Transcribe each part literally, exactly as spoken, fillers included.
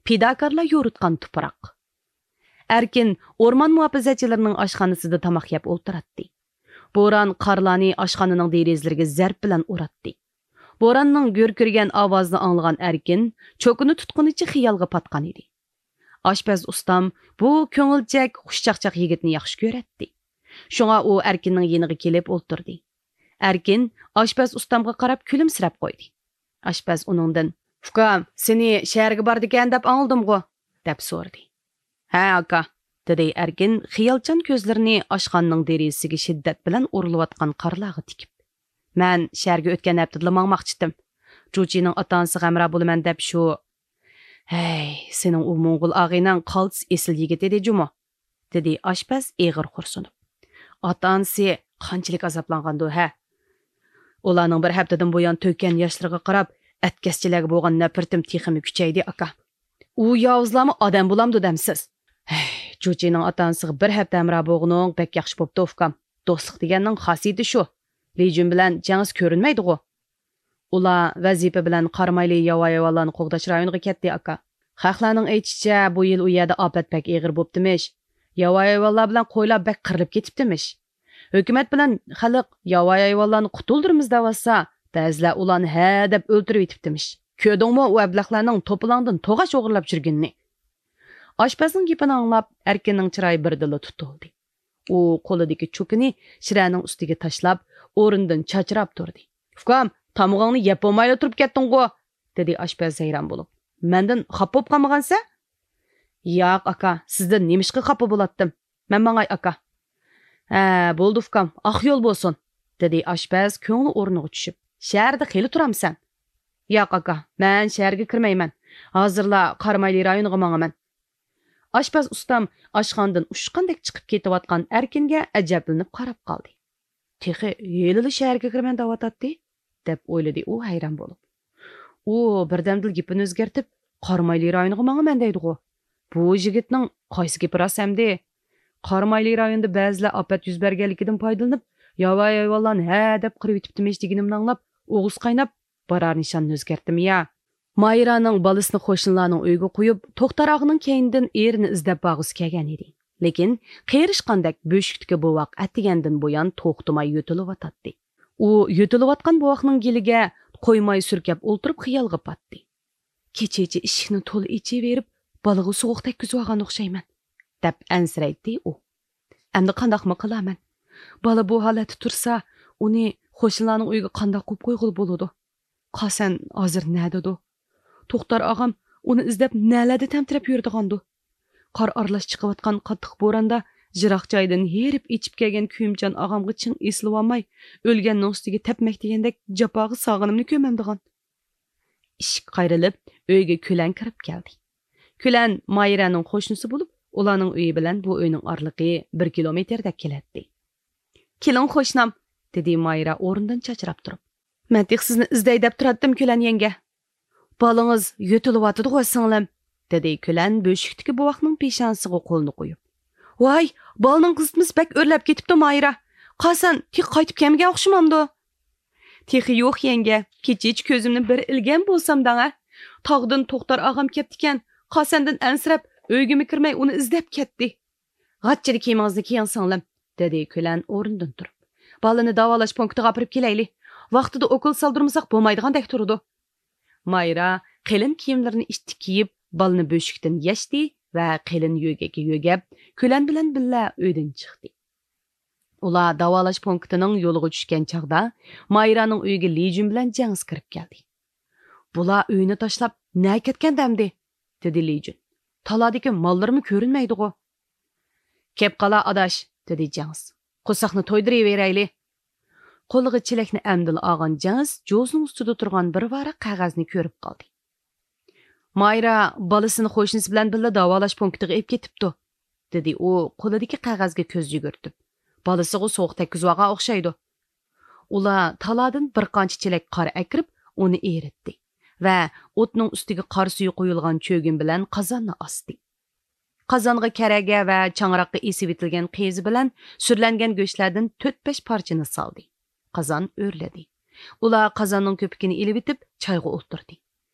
پىداكارلار يورۇتقان تۇپراق. ئەركىن ئورمان مۇھاپىزەتچىلىرىنىڭ ئاشخانىسىدا تاماق يەپ ئولتۇراتتى. بوران قارلارنى ئاشخانىنىڭ دېرىزىلىرىگە زەرب بىلەن ئۇراتتى. بوراننىڭ گۈركىرىگەن ئاۋازىنى ئاڭلىغان ئەركىن چوكىنى تۇتقىنىچە خىيالغا پاتقان ئىدى. ئاشپەز ئۇستام بۇ كۆڭۈلچەك، خۇشچاقچاق يىگىتنى ياخشى كۆرەتتى. شۇڭا ئۇ ئەركىننىڭ يېنىغا كېلىپ ئولتۇردى. ئەركىن ئاشپەز ئۇستامغا قاراپ كۈلۈمسىرەپ قويدى. ئاشپەز ئۇنىڭدىن، «ئۇكام، سېنى شەھەرگە باردىكەن دەپ ئاڭلىدىمغۇ؟» دەپ سورىدى. «ھە، ئاكا»، دېدى ئەركىن خىيالچان كۆزلىرىنى ئاشخانىنىڭ دېرىزىسىگە شىددەت بىلەن ئۇرۇلۇۋاتقان قارلارغا تىكىپ. «مەن شەھەرگە ئۆتكەن ھەپتىدىلا ماڭماقچىتىم. جۇچىنىڭ ئاتا-ئانىسىغا ھەمراھ بولىمەن دەپ شۇ...» «ھەي، سېنىڭ ئۇ موڭغۇل ئاغىنەڭ قالتىس ئېسىل يىگىت ئىدى جۇمۇ؟» دېدى ئاشپەز ئېغىر خورسۇنۇپ. «ئاتا-ئانىسى قانچىلىك ئازابلانغاندۇ، ھە؟ ئۇلارنىڭ بىر ھەپتىدىن بۇيان تۆككەن ياشلىرىغا قاراپ، ئەتكەسچىلەرگە بولغان نەپرىتىم تېخىمۇ كۈچەيدى، ئاكا. ئۇ ياۋۇزلارمۇ ئادەم بولامدۇ دەمسىز؟ ھەي، جۇچىنىڭ ئاتا-ئانىسىغا بىر ھەپتە ھەمراھ بولغىنىڭ بەك ياخشى بوپتۇ، ئۇكام. دوستلۇق دېگەننىڭ خاسىيىتى شۇ. لىجۈن بىلەن جەڭىس كۆرۈنمەيدىغۇ؟» «ئۇلار ۋەزىپە بىلەن قارامايلى ياۋايى ھايۋانلارنى قوغداش رايونىغا كەتتى، ئاكا. خەقلەرنىڭ ئېيتىشىچە، بۇ يىل ئۇ يەردە ئاپەت بەك ئېغىر بوپتىمىش. ياۋايى ھايۋانلار بىلەن قويلار بەك قىرىلىپ كېتىپتىمىش. ھۆكۈمەت بىلەن خەلق ياۋايى ھايۋانلارنى قۇتۇلدۇرىمىز دەۋاتسا، بەزىلەر ئۇلارنى ھە دەپ ئۆلتۈرۈۋېتىپتىمىش. كۆردۈڭمۇ ئۇ ئەبلەخلەرنىڭ توپىلاڭدىن توغاچ ئوغرىلاپ يۈرگىنىنى.» ئاشپەزنىڭ گېپىنى ئاڭلاپ، ئەركىننىڭ چىرايى بىردىنلا تۇتۇلدى. ئۇ قولىدىكى چوكىنى شىرەنىڭ ئۈستىگە تاشلاپ، ئورنىدىن چاچراپ تۇردى. «ئۇكام، تامىقىڭنى يەپ بولمايلا تۇرۇپ كەتتىڭغۇ؟» دېدى ئاشپەز ھەيران بولۇپ. «مەندىن خاپا بولۇپ قالمىغانسەن؟» «ياق، ئاكا، سىزدىن نېمىشقا خاپا بولاتتىم؟ مەن ماڭاي، ئاكا.» «ھە، بولدى، ئۇكام، ئاق يول بولسۇن.» دېدى ئاشپەز كۆڭلى ئورنىغا چۈشۈپ. «شەھەردە خېلى تۇرامسەن؟» «ياق، ئاكا، مەن شەھەرگە كىرمەيمەن. ھازىرلا قارامايلى رايونىغا ماڭىمەن.» ئاشپەز ئۇستام ئاشخانىدىن ئۇچقاندەك چىقىپ كېتىۋاتقان ئەركىنگە ئەجەبلىنىپ قاراپ قالدى. «تېخى ھېلىلا شەھەرگە كىرىمەن دەۋاتاتتى» دەپ ئويلىدى ئۇ ھەيران بولۇپ. ئۇ بىردەمدىلا گېپىنى ئۆزگەرتىپ، «قارامايلى رايونىغا ماڭىمەن» دەيدىغۇ. بۇ يىگىتنىڭ قايسى گېپى راست ئەمدى؟ «قارامايلى رايونىدا بەزىلەر ئاپەت يۈز بەرگەنلىكىدىن پايدىلىنىپ، ياۋايى ھايۋانلارنى ھە دەپ قىرىۋېتىپتىمىش» دېگىنىمنى ئاڭلاپ، ئوغۇس قايناپ، بارار نىشاننى ئۆزگەرتتىم يا. مايرانىڭ بالىسىنى قوشنىلارنىڭ ئۆيىگە قويۇپ، توختار ئاغىنىڭ كەينىدىن ئېرىنى ئىزدەپ بارغۇسى كەلگەن ئىدى. لېكىن قېرىشقاندەك بۆشۈكتىكى بوۋاق ئەتىگەندىن بۇيان توختىماي يۆتىلىۋاتاتتى. ئۇ يۆتىلىۋاتقان بوۋاقنىڭ گېلىگە قويماي سۈركەپ ئولتۇرۇپ خىيالغا پاتتى. «كېچىچە ئىشىكنى تولا ئېچىۋېرىپ، بالىغا سوغۇق تەگكۈزۈۋالغان ئوخشايمەن» دەپ ئەنسىرەيتتى ئۇ. «ئەمدى قانداقمۇ قىلارمەن؟ بالا بۇ ھالەتتە تۇرسا، ئۇنى قوشنىلارنىڭ ئۆيىگە قانداق قويۇپ قويغىلى بولىدۇ؟ قاسەن ھازىر نەدىدۇ؟ توختار ئاغام ئۇنى ئىزدەپ نەلەردە تەمتىرەپ يۈرىدىغاندۇ؟ قار ئارىلاش چىقىۋاتقان قاتتىق بوراندا يىراق جايدىن ھېرىپ ئېچىپ كەلگەن كۆيۈمچان ئاغامغا چىڭ ئېسىلىۋالماي، ئۆلگەننىڭ ئۈستىگە تەپمەك دېگەندەك جاپاغا سالغىنىمنى كۆرمەمدىغان.» ئىشىك قايرىلىپ، ئۆيگە كۈلەن كىرىپ كەلدى. كۈلەن مايرەنىڭ قوشنىسى بولۇپ، ئۇلارنىڭ ئۆيى بىلەن بۇ ئۆينىڭ ئارىلىقى بىر كىلومېتىردەك كېلەتتى. «كېلىڭ، قوشنام»، دېدى مايرا ئورنىدىن چاچراپ تۇرۇپ. «مەن تېخى سىزنى ئىزدەي دەپ تۇراتتىم، كۈلەن يەڭگە.» «بالىڭىز يۆتىلىۋاتىدىغۇ، سىڭلىم»، دېدى كۈلەن بۆشۈكتىكى بوۋاقنىڭ پېشانىسىغا قولىنى قويۇپ. «ۋاي، بالىنىڭ قىزىتمىسى بەك ئۆرلەپ كېتىپتۇ، مايرا. قاسەن، تېخى قايتىپ كەلمىگەن ئوخشىمامدۇ؟» «تېخى يوق، يەڭگە. كېچىچە كۆزۈمنى بىر ئىلگەن بولسام دەڭە. تاغدىن توختار ئاغام كەپتىكەن. قاسەندىن ئەنسىرەپ، ئۆيگىمۇ كىرمەي ئۇنى ئىزدەپ كەتتى.» «غاچچىدا كىيىمىڭىزنى كىيىڭ، سىڭلىم»، دېدى كۈلەن ئورنىدىن تۇرۇپ. «بالىنى داۋالاش پونكىتىغا ئاپىرىپ كېلەيلى. ۋاقتىدا ئوكۇل سالدۇرمىساق بولمايدىغاندەك تۇرىدۇ.» مايرا قېلىن كىيىملىرىنى ئىتتىك كىيىپ، بالىنى بۆشۈكتىن يەشتى ۋە قېلىن يۆگەككە يۆگەپ، كۈلەن بىلەن بىللە ئۆيدىن چىقتى. ئۇلار داۋالاش پونكىتىنىڭ يولىغا چۈشكەن چاغدا، مايرانىڭ ئۆيىگە لىجۈن بىلەن جەڭىس كىرىپ كەلدى. «بۇلار ئۆينى تاشلاپ نەگە كەتكەندە ئەمدى؟» دېدى لىجۈن. «تالادىكى ماللىرىمۇ كۆرۈنمەيدىغۇ.» «كەپ قالا، ئاداش»، دېدى جەڭىس. «قورساقنى تويدۇرۇۋېرەيلى.» قولىغا چېلەكنى ئەمدىلا ئالغان جەڭىس جوزىنىڭ ئۈستىدە تۇرغان بىر ۋاراق قەغەزنى كۆرۈپ قالدى. «مايرا بالىسىنى قوشنىسى بىلەن بىللە داۋالاش پونكىتىغا ئېلىپ كېتىپتۇ»، دېدى ئۇ قولىدىكى قەغەزگە كۆز يۈگۈرتۈپ. «بالىسىغۇ سوغۇق تەگكۈزۈۋالغان ئوخشايدۇ.» ئۇلار تالادىن بىر قانچە چېلەك قار ئەكىرىپ، ئۇنى ئېرىتتى ۋە ئوتنىڭ ئۈستىگە قار سۈيى قۇيۇلغان چۆگۈن بىلەن قازاننى ئاستى. قازانغا كەرەگە ۋە چاڭراققا ئېسىۋېتىلگەن قېزا بىلەن سۈرلەنگەن گۆشلەردىن تۆت-بەش پارچىنى سالدى. قازان ئۆرلىدى. ئۇلار قازاننىڭ كۆپۈكىنى ئېلىۋېتىپ، چايغا ئولتۇردى.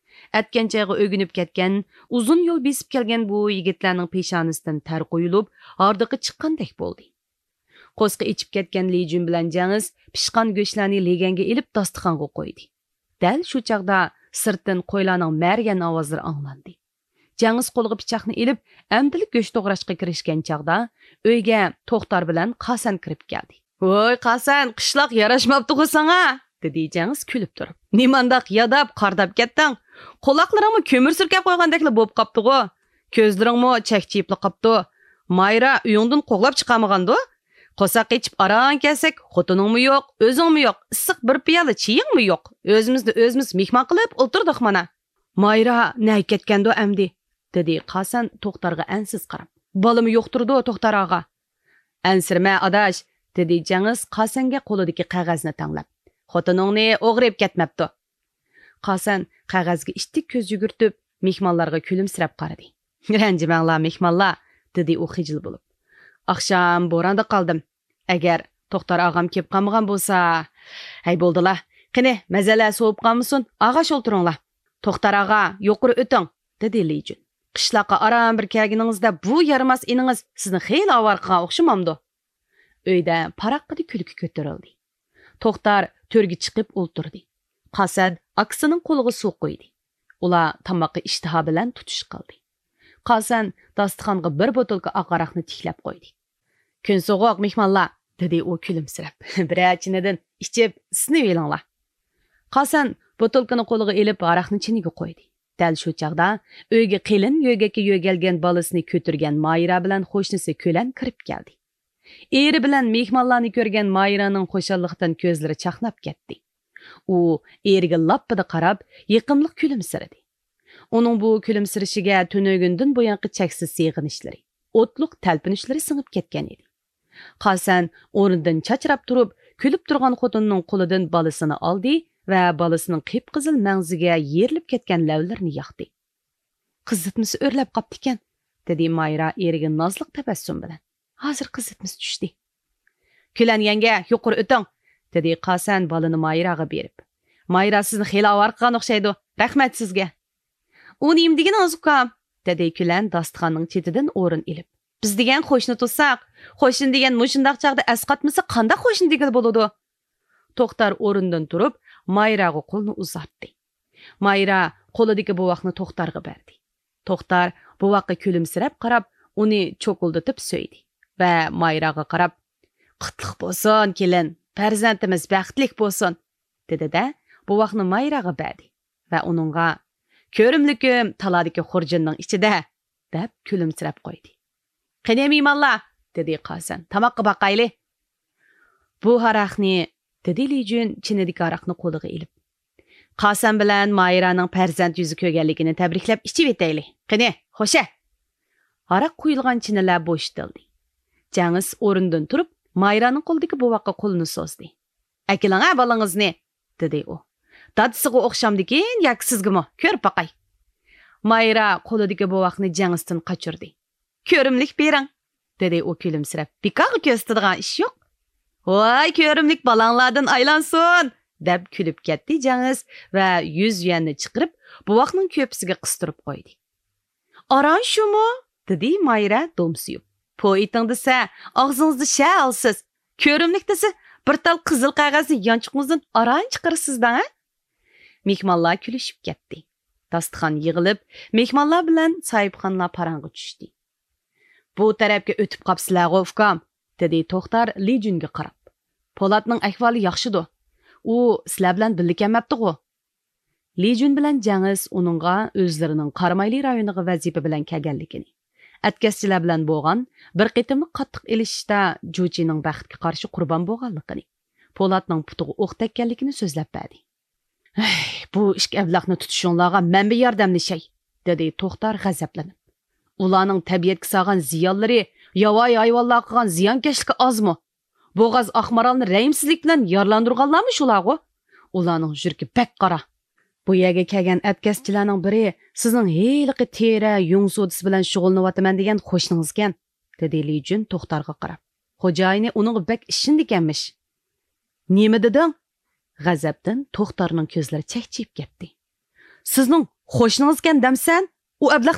ئەتكەن چايغا ئۆگىنىپ كەتكەن، ئۇزۇن يول بېسىپ كەلگەن بۇ يىگىتلەرنىڭ پېشانىسىدىن تەر قۇيۇلۇپ، ھاردۇقى چىققاندەك بولدى. قورسىقى ئېچىپ كەتكەن لى جۈن بىلەن جەڭىس پىشقان گۆشلەرنى لېگەنگە ئېلىپ داستىخانغا قويدى. دەل شۇ چاغدا سىرتتىن قويلارنىڭ مەرىگەن ئاۋازلىرى ئاڭلاندى. جەڭىس قولىغا پىچاقنى ئېلىپ، ئەمدىلا گۆش توغراشقا كىرىشكەن چاغدا، ئۆيگە توختار بىلەن قاسەن كىرىپ كەلدى. «ۋوي، قاسەن، قىشلاق ياراشماپتىغۇ ساڭا؟» دېدى جەڭىس كۈلۈپ تۇرۇپ. «نېمانداق ياداپ، قارداپ كەتتىڭ؟ قۇلاقلىرىڭمۇ كۆمۈر سۈركەپ قويغاندەكلا بولۇپ قاپتىغۇ؟ كۆزلىرىڭمۇ چەكچىيىپلا قاپتۇ. مايرا ئۆيۈڭدىن قوغلاپ چىقارمىغاندۇ؟ قورساق ئېچىپ ئاران كەلسەك، خوتۇنۇڭمۇ يوق، ئۆزۈڭمۇ يوق، ئىسسىق بىر پىيالە چېيىڭمۇ يوق. ئۆزىمىزنى ئۆزىمىز مېھمان قىلىپ ئولتۇردۇق مانا.» «مايرا نەگە كەتكەندۇ ئەمدى؟» دېدى قاسەن توختارغا ئەنسىز قاراپ. «بالىمۇ يوقتۇرىدۇ، توختار ئاغا.» «ئەنسىرىمە، ئاداش،» دېدى جەڭىس قاسەنگە قولىدىكى قەغەزنى تەڭلەپ. «خوتۇنۇڭنى ئوغرى ئېلىپ كەتمەپتۇ.» قاسەن قەغەزگە ئىتتىك كۆز يۈگۈرتۈپ، مېھمانلارغا كۈلۈمسىرەپ قارىدى. «رەنجىمەڭلار، مېھمانلار،» دېدى ئۇ خىجىل بولۇپ. «ئاخشام بوراندا قالدىم. ئەگەر توختار ئاغام كېلىپ قالمىغان بولسا، ھەي، بولدىلا. قېنى، مەزەلەر سوۋۇپ قالمىسۇن، ئاغاش ئولتۇرۇڭلار.» «توختار ئاغا، يۇقىرى ئۆتۈڭ،» دېدى لى جۈن. «قىشلاققا ئاران بىر كەلگىنىڭىزدە بۇ يارىماس ئىنىڭىز سىزنى خېلى ئاۋارە قىلغان ئوخشىمامدۇ؟» ئۆيدە پاراققىدە كۈلكە كۆتۈرۈلدى. توختار تۆرگە چىقىپ ئولتۇردى. قاسەن ئاكىسىنىڭ قولىغا سۇ قۇيدى. ئۇلار تاماققا ئىشتىھا بىلەن تۇتۇش قىلدى. قاسەن داستىخانغا بىر بوتۇلكا ئاق ھاراقنى تىكلەپ قويدى. «كۈن سوغۇق، مېھمانلار،» دېدى ئۇ كۈلۈمسىرەپ. «بىرەر چىنىدىن ئىچىپ ئىسسىنىۋېلىڭلار.» قاسەن بوتۇلكىنى قولىغا ئېلىپ، ھاراقنى چىنىگە قويدى. دەل شۇ چاغدا ئۆيگە قېلىن يۆگەككە يۆگەلگەن بالىسىنى كۆتۈرگەن مايرا بىلەن قوشنىسى كۆلەن كىرىپ كەلدى. ئېرى بىلەن مېھمانلارنى كۆرگەن مايرانىڭ خۇشاللىقتىن كۆزلىرى چاقناپ كەتتى. ئۇ ئېرىگە لاپپىدە قاراپ، يېقىملىق كۈلۈمسىرىدى. ئۇنىڭ بۇ كۈلۈمسىرىشىگە تۈنۈگۈندىن بۇيانقى چەكسىز سېغىنىشلىرى، ئوتلۇق تەلپۈنۈشلىرى سىڭىپ كەتكەن ئىدى. قاسەن ئورنىدىن چاچراپ تۇرۇپ، كۈلۈپ تۇرغان خوتۇنىنىڭ قولىدىن بالىسىنى ئالدى ۋە بالىسىنىڭ قىپقىزىل مەڭزىگە يېرىلىپ كەتكەن لەۋلىرىنى ياقتى. «قىزىتمىسى ئۆرلەپ قاپتىكەن،» دېدى مايرا ئېرىگە نازلىق تەبەسسۇم بىلەن. «ھازىر قىزىتمىسى چۈشتى.» «كۈلەن يەڭگە، يۇقىرى ئۆتۈڭ،» دېدى قاسەن بالىنى مايراغا بېرىپ. «مايرا سىزنى خېلى ئاۋارە قىلغان ئوخشايدۇ. رەھمەت سىزگە.» «ئۇ نېمە دېگىنىڭىز، ئۇكام؟» دېدى كۈلەن داستىخاننىڭ چېتىدىن ئورۇن ئېلىپ. «بىز دېگەن قوشنا تۇرساق، قوشنا دېگەن مۇشۇنداق چاغدا ئەسقاتمىسا قانداق قوشنا دېگىلى بولىدۇ؟» توختار ئورنىدىن تۇرۇپ، مايراغا قولىنى ئۇزارتتى. مايرا قولىدىكى بوۋاقنى توختارغا بەردى. توختار بوۋاققا كۈلۈمسىرەپ قاراپ، ئۇنى چوكۇلدىتىپ سۆيدى ۋە مايراغا قاراپ، «قۇتلۇق بولسۇن، كېلىن، پەرزەنتىمىز بەختلىك بولسۇن!» دېدى-دە، بوۋاقنى مايراغا بەردى ۋە ئۇنىڭغا، «كۆرۈملۈكۈم تالادىكى خۇرجۇننىڭ ئىچىدە!» دەپ كۈلۈمسىرەپ قويدى. «قېنى، مېھمانلار!» دېدى قاسەن، «تاماققا باقايلى.» «بۇ ھاراقنى،» دېدى لى جۈن چىنىدىكى ھاراقنى قولىغا ئېلىپ. «قاسەن بىلەن مايرانىڭ پەرزەنت يۈزى كۆرگەنلىكىنى تەبرىكلەپ ئىچىۋېتەيلى. قېنى، خوشە!» ھاراق قۇيۇلغان چىنىلەر بوشىتىلدى. جەڭىس ئورنىدىن تۇرۇپ، مايرانىڭ قولىدىكى بوۋاققا قولىنى سوزدى. «ئەكېلىڭە بالىڭىزنى!» دېدى ئۇ. «دادىسىغا ئوخشامدىكىن ياكى سىزگىمۇ؟ كۆرۈپ باقاي.» مايرا قولىدىكى بوۋاقنى جەڭىستىن قاچۇردى. «كۆرۈملۈك بېرىڭ!» دېدى ئۇ كۈلۈمسىرەپ. «بىكارغا كۆرسىتىدىغان ئىش يوق.» «ۋاي، كۆرۈملۈك بالاڭلاردىن ئايلانسۇن!» دەپ كۈلۈپ كەتتى جەڭىس ۋە يۈز يۈەننى چىقىرىپ، بوۋاقنىڭ كۆپىسىگە قىستۇرۇپ قويدى. «ئاران شۇمۇ؟» دېدى مايرا دومسىيىپ. «پو ئېتىڭ دېسە، ئاغزىڭىزدا شە ئالىسىز. كۆرۈملۈك دېسە، بىر تال قىزىل قەغەزنى يانچۇقىڭىزدىن ئاران چىقىرىسىز دەڭە.» مېھمانلار كۈلۈشۈپ كەتتى. داستىخان يىغىلىپ، مېھمانلار بىلەن ساھىبخانلار پاراڭغا چۈشتى. «بۇ تەرەپكە ئۆتۈپ قاپسىلەرغۇ، ئۇكام؟» دېدى توختار لى جۈنگە قاراپ. «پولاتنىڭ ئەھۋالى ياخشىدۇ؟ ئۇ سىلەر بىلەن بىللە كەلمەپتىغۇ؟» لى جۈن بىلەن جەڭىس ئۇنىڭغا ئۆزلىرىنىڭ قارامايلى رايونىغا ۋەزىپە بىلەن كەلگەنلىكىنى، ئەتكەسچىلەر بىلەن بولغان بىر قېتىملىق قاتتىق ئېلىشىشتا جۇچىنىڭ بەختكە قارشى قۇربان بولغانلىقىنى، پولاتنىڭ پۇتىغا ئوق تەگكەنلىكىنى سۆزلەپ بەردى. «ھەي، بۇ ئىككى ئەبلەخنى تۇتۇشۇڭلارغا مەن بىر ياردەملىشەي»، دېدى توختار غەزەپلىنىپ. «ئۇلارنىڭ تەبىئەتكە سالغان زىيانلىرى، ياۋايى ھايۋانلارغا قىلغان زىيانكەشلىكى ئازمۇ؟ بوغاز ئاقمارالنى رەھىمسىزلىك بىلەن يارىلاندۇرغانلارمۇ شۇلارغۇ؟ ئۇلارنىڭ يۈرىكى بەك قارا.» «بۇ يەرگە كەلگەن ئەتكەسچىلەرنىڭ بىرى سىزنىڭ ھېلىقى تېرە، يۇڭ سودىسى بىلەن شۇغۇللىنىۋاتىمەن دېگەن قوشنىڭىزكەن»، دېدى لى جۈن توختارغا قاراپ. «خوجايىنى ئۇنىڭغا بەك ئىشىنىدىكەنمىش.» «نېمە دېدىڭ؟» غەزەپتىن توختارنىڭ كۆزلىرى چەكچىيىپ كەتتى. «سىزنىڭ قوشنىڭىزكەن دەمسەن؟ ئۇ ئەبلەخنىڭ